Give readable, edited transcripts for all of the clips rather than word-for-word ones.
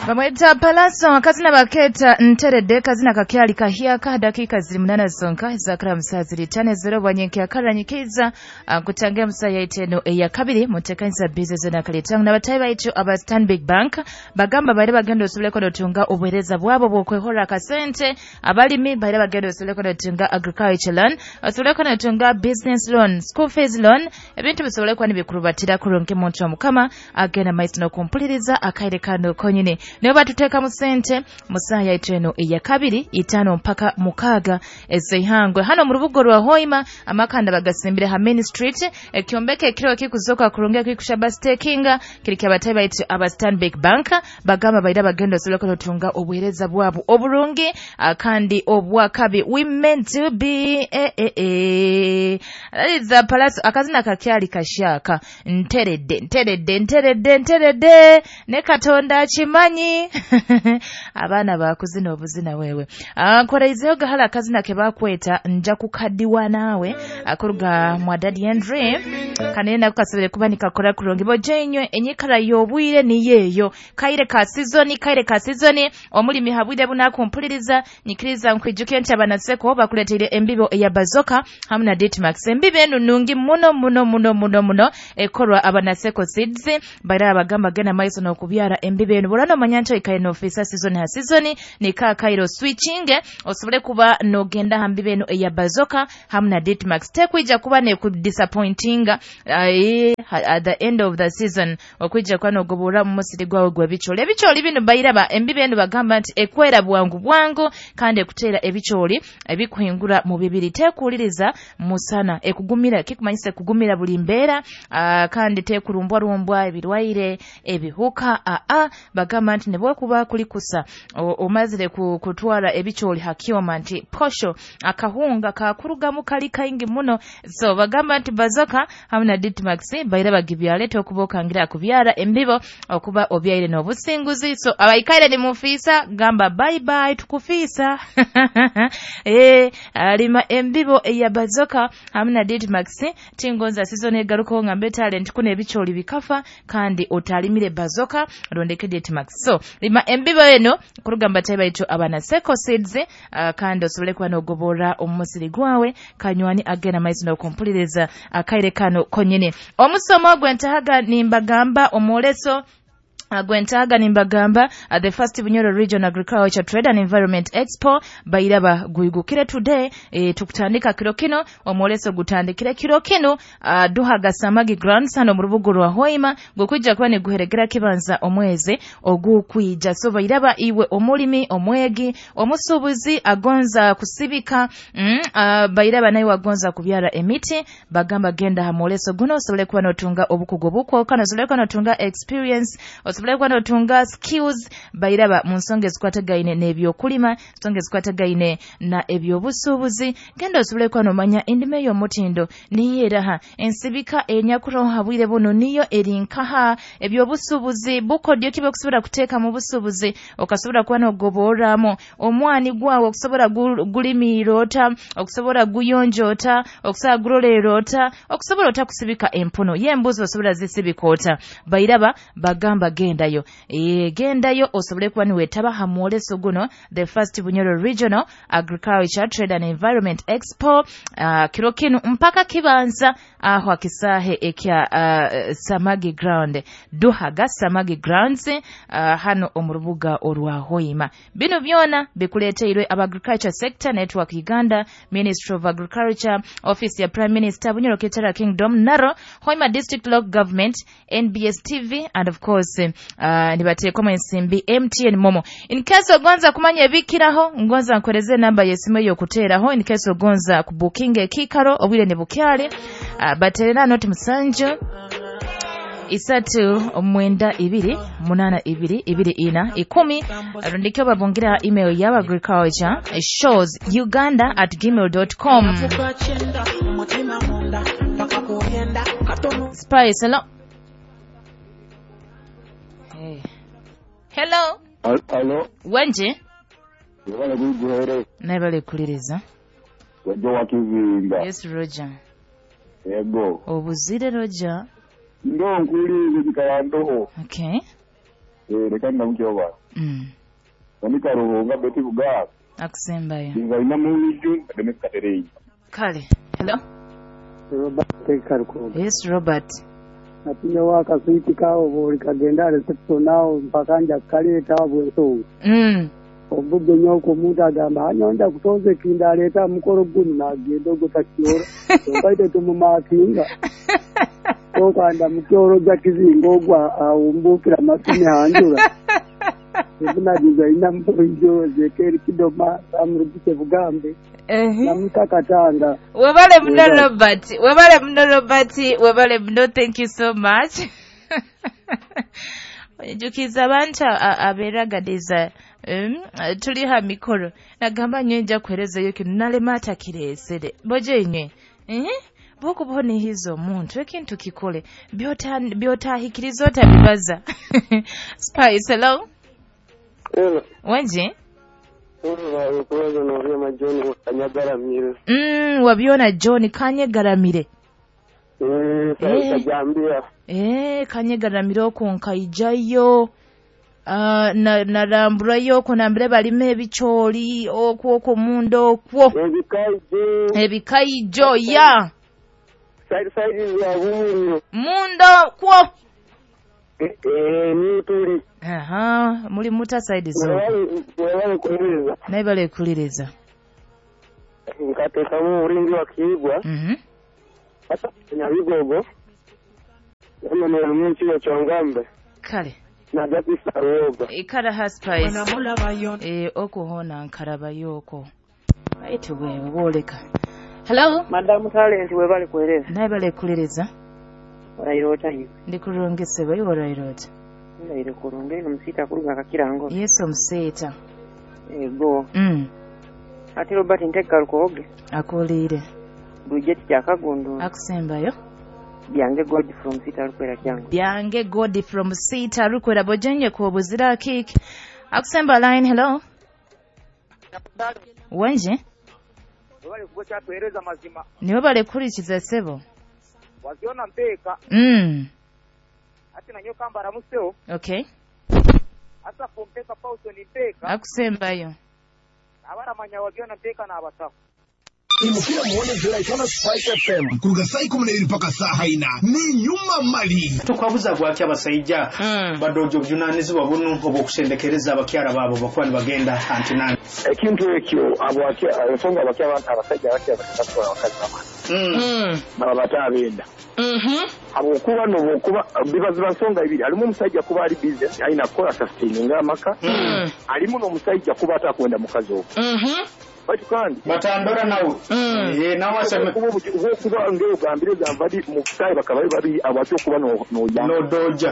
Bamweta Palaso akazina baketa Nterede, kazina kakyali kahyaka. Dakika ziri 8 zonka zakara musazi tane zero bwanyenke akaranyikiza kutangira musaya iteno eya kabiri mutekanisa business na kalitang na batayi baitu aba Stanbic Bank bagamba bari bagenda osobole konotunga obuhereza bwabo bwokwehora akasente. Abalimi bari bagenda osobole konotunga agriculture loan, osobole konotunga business loan, school fees loan, ebintu bisobole kuba nibikurubatira kurungi muntu wa Mukama agenda maiso n'okumpuliriza akaire kano konyini. Nibo batuteeka mu sente mu ssaaha yaitu eno eya kabiri 5 mpaka 6 ez'eihangwe hano mu rubuga rwa Hoima. Amakanda bagasimbire ha Main Street, ekyombeko ekiro ekikuzoka kurungi ekikusha bastakinga kiri kyabatayi baitu aba Stanbic Bank. Bagamba baira bagenda osobole kutunga obuhereza bwabo oburungi kandi obwakabi. We meant to be That is Palaso akazina kakyali kashaka. Nteredde nteredde nteredde nteredde ne Katonda akimanyi. Abaana bakuzina obuzina wewe. Nkoreizeyo gahala akazina ke bakweta nja kukadiwa naawe akuruga mwa Daddy Andre kanene nako kasobole kuba nikakora kurungi bojenywe enyikara y'obwire niyeyo kaire ka season, kaire ka season omulimi habwire bunakumpuliriza nyikiriza nkwijuke nti abanaseko bakuleteire embibo eya Bazoka hamwe na Ditmax. Embibo enu nungi muno muno muno muno muno ekorwa abanaseko seeds baira abagamba gena maiso n'okubyara embibo enu burano manyancho ikaye no ofisa season ha season nika kairo switching osobole kuba nogenda ha mbibo enu eya Bazoka hamwe na Ditmax. Tekwija kuba ne disappointing at the end of the season okwija kuba nogobora mu musiri gwawe gw'ebicooli. Ebicooli bino bairaba embibo enu bagamba nti ekwera bwangu bwangu kandi ekuteera ebicooli ebikuhingura mu bibiri, tekuwuliriza musana, ekugumira kikumanyisa kugumira buli mbeera kandi tekurumbwa rumbwa ebirwaire ebihuka. Bagamba nti nebwekuba kuli kusa omazire kutwara ebicooli hakyoma nti posho akahunga kakurugamu kali kaingi muno. So bagamba nti Bazoka hamwe na Ditmax baira bagibyaleta okubokangira kubyara embibo okuba obyaire n'obusinguzi. So abaikaire ni mufisa gamba bye bye tukufisa. Alima embibo eya Bazoka hamwe na Ditmax tingonza season egaruko ngambe talent kuno ebicooli bikafa kandi otalimire Bazoka rondeke Ditmax. So lima embibo eno kurugamba tayi baitu abana Seko Seeds kandi osobole kuba nogobora omusiri gwawe kanywani agenda maiso n'okumpuliriza akaire kano konyene. Omusomo gwentahaga nimbagamba omwoleso gwentahaga nimbagamba the first Bunyoro Region Agriculture Trade and Environment Expo bairaba guigukire today. Tukutandika kiro kino omwoleso gutandikire kiro kino duhaga Samagi Grounds hano mu rubuga rwa Hoima gukwijja kuba niguheregera kibanza omwezi ogukwija. So bairaba iwe omulimi, omwegi, omusubuzi agonza kusibika bairaba naye wagonza kubyara emiti bagamba genda ha mwoleso guno osobole kuba notunga obukugu obukwoka, osobole kuba notunga experience, osobole kuba notunga skills bairaba mu nsonga ezikwatagaine n'ebyokulima, nsonga ezikwatagaine na ebyobusuubuzi. Genda osobole kuba nomanya endima ey'omutindo niyo eraha, ensibika enyakuroha bwire buno niyo eri nkaha, ebyobusuubuzi bukodyo ki bw'okusobola kuteeka mu busuubuzi okasobola kuba nogoborramu omwani gwawe, okusobola gulimiira ota, okusobola guyonja ota, okusobola guroleera ota, okusobola ota kusibika empuno y'embuzi osobola zisibika ota. Bairaba bagamba gendayo, gendayo osobole kuba niwetaba ha mwoleso guno the first Bunyoro Regional Agriculture Trade and Environment Expo kiro kinu mpaka kibanza aho akisahe ekya Samagi Ground, Duhaga Samagi Grounds hano omu rubuga orwa Hoima. Bino byona bikuleteirwe aba Agriculture Sector Network Uganda, Ministry of Agriculture, Office ya Prime Minister, Bunyoro Kitara Kingdom, Naro, Hoima District Local Government, NBS TV and of course nibateekwamu ensimbi MTN Momo. In case ogonza kumanya ebikiraho, ngonza nkoreze namba y'esimu ey'okuteeraho in case ogonza kubukinga ekikaro obwire ne bukyali baterera noti 7 3 9 2 8 2 2 4 10 rundikyo babungira email ya agriculture shows uganda@gmail.com. Spice, hello. Hey. Hello. Hello. Wenje? Wala kuiguhere. Naibale kuliriza. Roger wakizinga. Yes, Roger. Yego. Obuzire Roger. Ndo nkulize kikalandoho. Okay. Reka ndamukye oba. Monika Ruhunga Betty Bugaa. Akusembayo. Nzaina Muwiju Denis Katerei. Kale. Hello. Robert Karuko. Yes, Robert. Natinye wakaswiti kawo buli kagenda reception awo mpaka nja kaleeta bwensonga. Obudde nyoko omuntu agamba anyonja kutoza ekinda aleeta mukolo guno n'agenda ogwo takyora. Kyonka tumumakinga. Okwanda mukyoro ja kizinga ogwa awumbukira masumi hanjura. Ebunagiza ina mbujo zekeri kidoma amurugike bugambe. Namutakatanga. Webale muno Robert. Webale muno Robert. Webale muno, thank you so much. Jukiza abantu aberagadeza tuli ha mikoro nagamba nyenja kuherezayo kino nalema atakireesere boje inywe bwokubona hizo omuntu ekintu kikole byotahikiriza otabibaza. Spice, hello. Hello. Wenje? Wabyona Wabyona John Kanyegaramire. Kanyegaramire okwo nkaijayo. Naramburayo okwo nambire balima ebikyoli okwo okwo munda okwo. Ebikaijo ya. Side ya bumuliro. Munda okwo. Ni Aha, muri muta side zo. Wabale kuuliriza. Naye bale kuuliriza. Nkatekamu ulinzi wa kiigwa. Hata Nyabigogo. Yamene munsi ya Chongambe. Kale. Na gati saroba. Ikara ha Spice. Okuhona nkarabayo okwo. Baitu wewe woleka. Hello. Madam Talent webale kueleza. Naye bale kuuliriza. Orairota hiyo. Ndikurongese bayo orairota. Ndaire kurunge omusita kuruga kakirango. Yesu omusita. Ego. Ati Robert nteka rukoge. Akulire. Budget kyakagondo. Akusembayo. Byange God from Sita Rukwera kyango. Byange God from Sita Rukwera bojenye ko buzira kick. Akusemba line, hello. Wenje? Wabale kugocha tueleza mazima. Ni wabale kurikiza sebo. Waziona mpeka. Ati na nyoka mbara museo. Okay. Asa pompeka pauso ni mpeka. Akusembayo. Abara manya waziona mpeka na abatafu. Imukira muone ziraitana Spice FM kuruga saa 12 mpaka saa haina ni nyuma mali tukwabuza gwaki abasajja badojo bujunanizibwa buno obwokusendekereza abakyala baabo bakuba nibagenda antinani ekintu ekyo ensonga abakyala abasajja abakyala bakatwala abakazi bamwe baba batabenda habwokuba nobwokuba bibaziba nsonga ibiri alimu omusajja kuba ali busy alina kukola sustaininga amaka alimu n'omusajja kuba atakwenda mukazi ogwo batu kandi batandora nawe nawe aseme kuba ngeo gambire gambadi muftai bakabaye babi abacho kuba no no no doja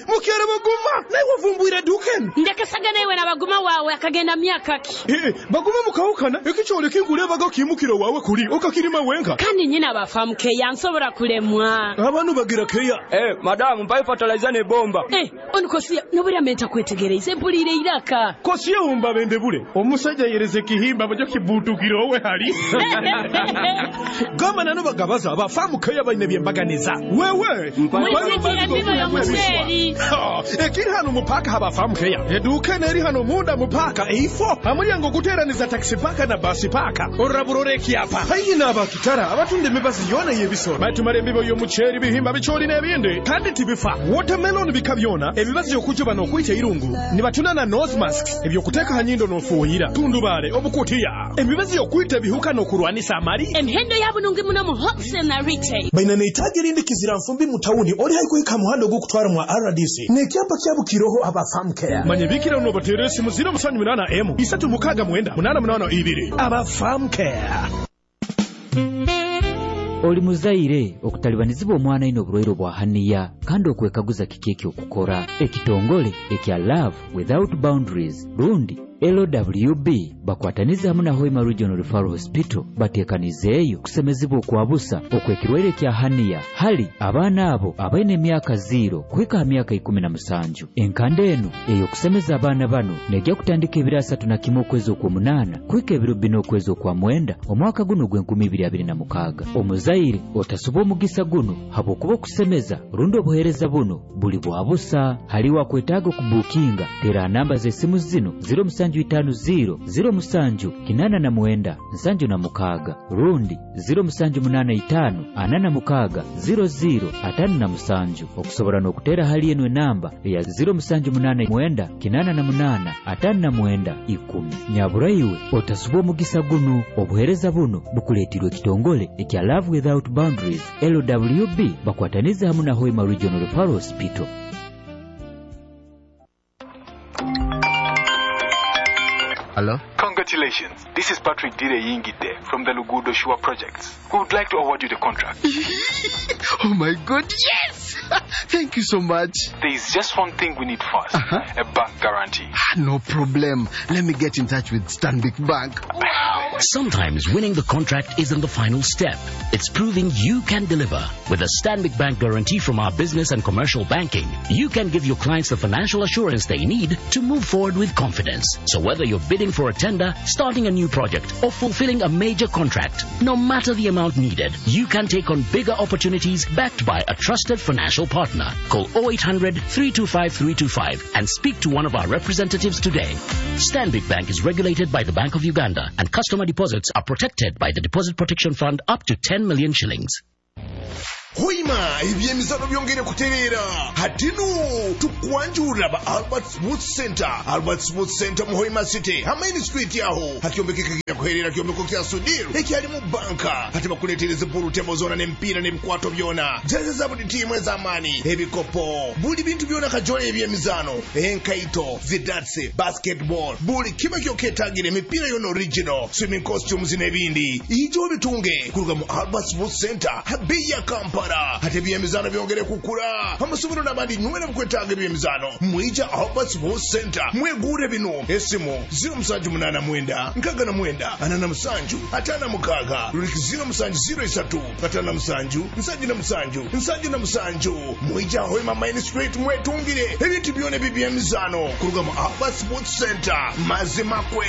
Mukyala Baguma naye wavumbwira duken ndekasaga naye na Baguma wawe akagenda myaka ki Baguma mukawukana ekikyole kinkulebaga kimukiro wawe kuli okakirima wenka kandi nyina abafamuke yansobora kulemwa abantu bagira keya madamu mpa fertilizer ne bomba onukosiya nobura menta kwetegereza empulire iraka kosiya umba bende bule omusajja yereze kihimba bajo kibutukiro owe hali gama nano bagabaza abafamuke yabaine byembaganiza wewe ekiri hano mupaka habafamukeya eduka neri hano munda mupaka eifo amulyango guteraniza taxi paka na basi paka oraburore kiapa haihi n'abakitara abatunda emibazi yona y'ebisoro batumara embibo y'omuceeri bihimba bikyoli n'ebindi kandi tibifa watermelon bika byona ebibazi okujuba n'okwita irungu nibatuna na nose masks ebyokuteeka ha nyindo n'ofuuhira tundubaale obukutiya emibazi y'okwita ebihuka n'okurwanisa amali emihendo yabunungi muno mu wholesale na retail baina neitaji erindi kizira nfumbi mu tawuni oli haikuhika muhando ogw'okutwara mwa RDC n'ekyapa kyabukiroho abafamukeya manye bikira uno bateera esimu 078 M 369 882 abafamukeya Oli muzaire okutalibanizibwa omwana ino obulwaire bwa haniya kandi okwekaguza kiki ekyokukora ekitongole ekya Love Without Boundaries rundi LWB bakwataniza hamu na Hoima Regional Referral Hospital batekanizeeyo kusemezibwa okwabusa okw'ekirwaire kya haniya hali abaana abo abaine emyaka 0 kuhika ha myaka 17. Enkanda eno ey'okusemeza abaana bano nejja kutandika ebiro 31 okwezi okw'omunaana kuhika ebiro 4 okwezi okwa mwenda omwaka guno ogw'e 2026. Omuzaire otasuba omugisa guno habwokuba okusemeza rundi obuheereza buno buli bwabusa. Haliwo akwetaaga okubukinga tera namba z'esimu zino 0750 07 89 76 rundi 0785 46 00 57 okusobora n'okutera hali eno enamba eya 0789 88 59 10. Nyaburaiwe otasuba omugisa guno. Obuheereza buno bukuleetirwe ekitongole ekya Love Without Boundaries LWB bakwataniza hamu na Hoima Regional Referral Hospital. Hello? Congratulations. This is Patrick Dire Yingide from the Lugudo Shua Projects. We would like to award you the contract. Oh my God, yes! Thank you so much. There is just one thing we need first. A bank guarantee. No problem. Let me get in touch with Stanbic Bank. Wow. Sometimes winning the contract isn't the final step. It's proving you can deliver. With a Stanbic Bank guarantee from our business and commercial banking, you can give your clients the financial assurance they need to move forward with confidence. So whether you're bidding for a tender, starting a new project, or fulfilling a major contract, no matter the amount needed, you can take on bigger opportunities backed by a trusted financial partner. Call 0800 325 325 and speak to one of our representatives today. Stanbic Bank is regulated by the Bank of Uganda, and customer deposits are protected by the Deposit Protection Fund up to 10 million shillings. Hoima ebyemizano byongere kutereera hatino tukwanjurira ba Albert Sports Center. Albert Sports Center mu Hoima City Main Street aho hakyombekeka kuherera kyombeko kya Sudiru ekyali mu banka ate bakuleetereza pool table zona n'emipiira n'ebikwato byona jezi za buli tiimu ez'amaani ebikopo buli bintu byona kajole ebyemizano enkaito zidatsi basketball buli kiba kyoketagira emipiira yona original swimming costumes n'ebindi ijo bitunge kuruga mu Albert Sports Center habeya ya Kampala. Ate ebyemizano byongere kukula amasomero n'abandi nywera mukwetaaga ebyemizano mwija Albert Sports Center mwegure bino esimu 0789 69 47 56 ruliki 0703 57 77 77 mwija Hoima Main Street mwetungire ebintu byona ebyemizano kuruga mu Albert Sports Center mazimakwe.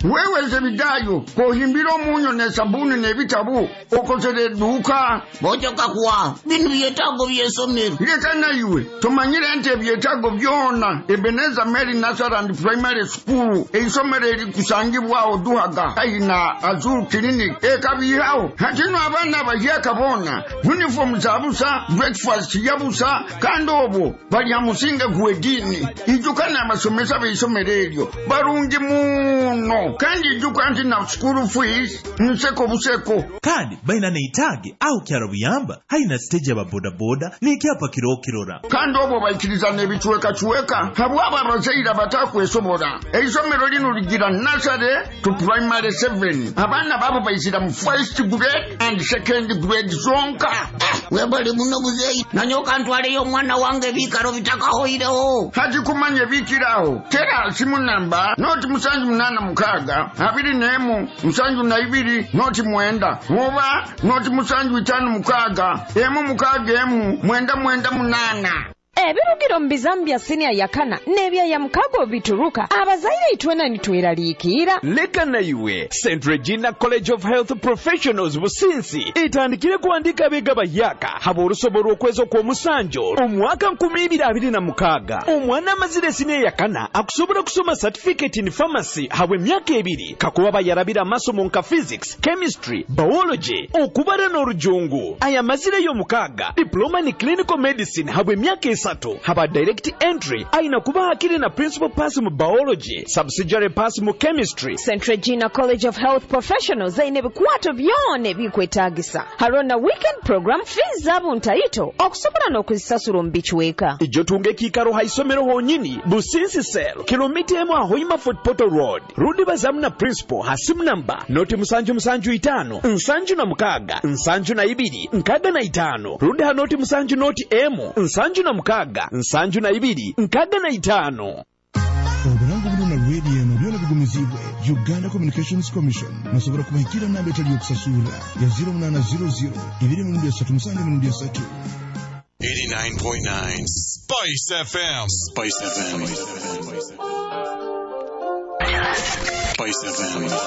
Wewe Zebidayo, kohimbira omunyo ne sabuni n'ebitabu okozere edduuka. Bojoka kuwa bino byetaago by'essomero. Leka naiwe tumanyire nti ebyetaago byonna Ebenezer Mary Nursery and Primary School eisomero erikusangibwawo Duhaga aina Azul Clinic ekabihawo. Hatino abaana abahyaka boona uniform zabusa, breakfast yabusa, kandi obwo balya musinge gw'eddiini. Ijuka n'abasomesa b'eisomero eryo barungi muno. Kandi ijuka nti na school fees nseko buseko. Kandi baina neitage au kyaro buyamba haina stage ya bodaboda n'ikyapa kirokirora. Kandi obwo baikiriza n'ebicuwekacuweka habwabo abazaire abatakwesobola. Eisomero lino ligira nursery to primary 7. Abaana babo baizira mu first grade and second grade zonka. Webale muno muzeeyi nanyoka ntwaleyo omwana wange ebiikaro bitakahoireho. Hati kumanya ebiikiraho tera simu namba 076 21 72 09 oba 0756 161 998. Ebirugiro mu bizamu bya siniya yakana n'ebya mukago bituruka abazaire itwena nitweraliikira. Leka naiwe St. Regina College of Health Professionals Businsi itandikire kuandika abega bayaka haba orusobo okwezi okw'omusanjo omwaka 2026. Omwana amazire siniya yakana akusobola kusoma certificate in pharmacy habwe emyaka 2 kakuba bayarabira amasomo nka physics, chemistry, biology, okubara n'orujungu. Aya mazire y'omukaga diploma ni clinical medicine habwe emyaka 3 haba direct entry aina kuba hakiri na principal pass mu biology, subsidiary pass mu chemistry. St. Regina College of Health Professionals aine bikwato byona ebikwetagisa harona weekend program fees zabo ntaito okusobola n'okuzisasula omu bichweka. Ijo tunge kikaro haisomero honyini Businsi Cell kilomita emu Hoima Fort Portal Road rudi bazamu na principal hasimu namba 075 76 72 65 rudi ha 070 emu 76 6 72 65. Oburango buno na radio eno byona bigumizibwe Uganda Communications Commission. Nosobola kubahikira namba etali yokusasura ya 0800 237 3. 89.9 Spice FM. Spice FM. Spice FM.